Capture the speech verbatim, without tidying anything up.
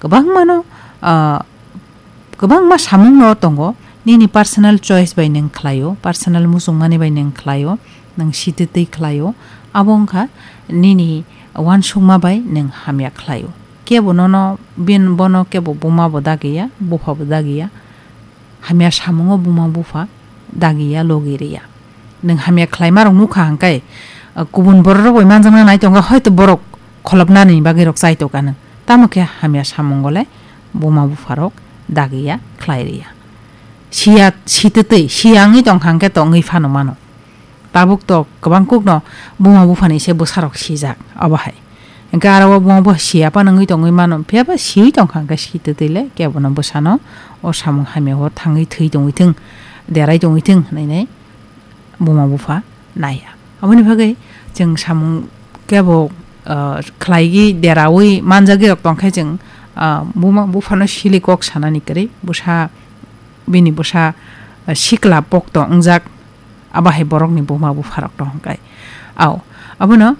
Kwbangmano, ah, kwbangma samungno tongo, nini personal choice bai nwng khlaio, personal muchungmani bai nwng khlaio, nwng sititwi khlaio, abo wngkha nini uansukma bai nwng hamya khlaio. Kebo nono bin-, bono kebo buma bo dagiya, bupha bo dagiya, hamya samungo buma bupha dagiya, logi riya. Nwng hamya khlaima rok nukha hwnkhe, ah, kubun borok rok bai manjakna nai tongo, hoito borok kholopnani bagwi rok chai tongkha nwng. Tamo khe hamya samungo le buma bupha rok dagiya, khlai riya. Siya, sititwi, siya wngwi tongkha hwnkhe tongwi phano mano. Tabuk to kwbang kukno buma buphani se bwsarok sijak, obo hai. Hwnkhe aro o buma bupha siya phano wngwi tongwi mano, phiya ba siwi tongkha hwnkhe sititwi le kebono bwsano o samung hamya o thangwi thwi tongwi thung, derai tongwi thung hwnwi nai buma bupha naiya. Aboni bagwi chwng samung kebo, ah, khlaigwi deraui manjagwi rok tongkhe chwng, ah, buma buphano sili kok sanani kwrwi, bwsa, bini bwsa, ah, sikla pokto wngjak, abo hai borokni buma bupharok tong hwnkhe. Au, abono